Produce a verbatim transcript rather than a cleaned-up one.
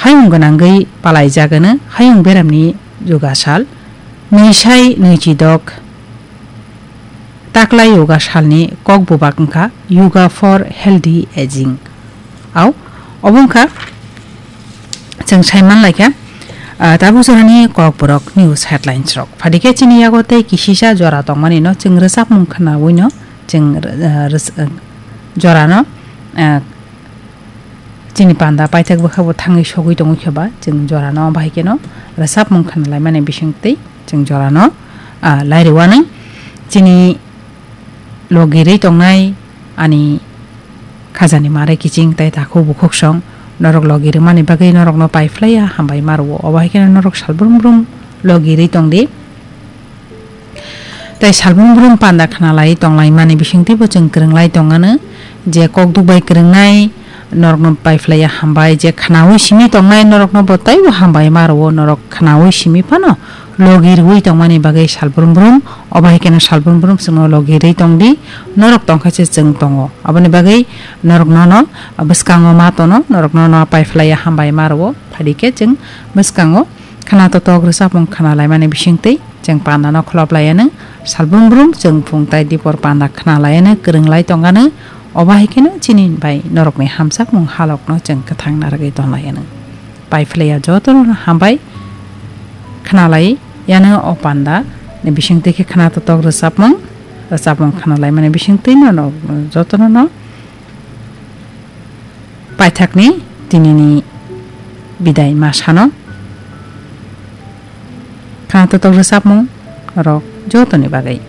hayung gwnangwi palaijagano hayung beramni yoga sal, nwi sai nwi chidok taklai yoga salni kok bubak wngkha Yoga for Healthy Aging. Au, obo wngkha chwng saiman laikha, ah, tabuk jorani kokborok news headlines rok. Phadikhe chini yago tei kisisa jora tongmani no chwng rwchapmung khwnawino chwng, ah, rwch-, ah, jorano, ah, chini panda paithak bwkha bo thangwi sogwi tongwi khe ba chwng jorano bahai kheno rwchapmung khwnalaimani bisingtwi chwng jorano, ah, lairwani chini logirwi tongnai ani khajani mare kiching tai takhuk bukhuk song norok logi rwmani bagwi norokno pai phlaiya hambai ma rwo. Obo hai kheno norok sal brum brum logirwi tongdi. Tai salbrum brum panda khna lai tong lai mani bising teibo chwng kwrwng lai tong ano je kok duk bai kwrwng nai norok no pai phlai ya hambai, je khnaui simi tong nai norok no bo teibo hambai ma rwo, norok khnaui simi phano logi rwui tong mani bagwi salbrum brum, obo hai kheno salbrum brum chwng no logi rwi tong di, norok tong kha se chwng tongo, aboni bagwi norok no no bwskango ma tono, norok no no pai phlai ya hambai ma rwo, phadi khe chwng bwskango khna totok rwchapmung khna lai mani bising tei chwng panda no kholop lai anw. Salbrum brum chwng phung tai dipor panda khna lai anw, kwrwng lai tong anw. Obo hai kheno chini bai norok ni hamjakmung halok no chwng kwthang narwgwi ton lai anw. Pai phlai ya joto no hambai khna lai anw o panda ni bising tei khe khna totok rwchapmung, rwchapmung khna lai mani bising tei no no joto no no paithakni tinini bidai ma sano khna totok rwchapmung rok jotoni bagwi.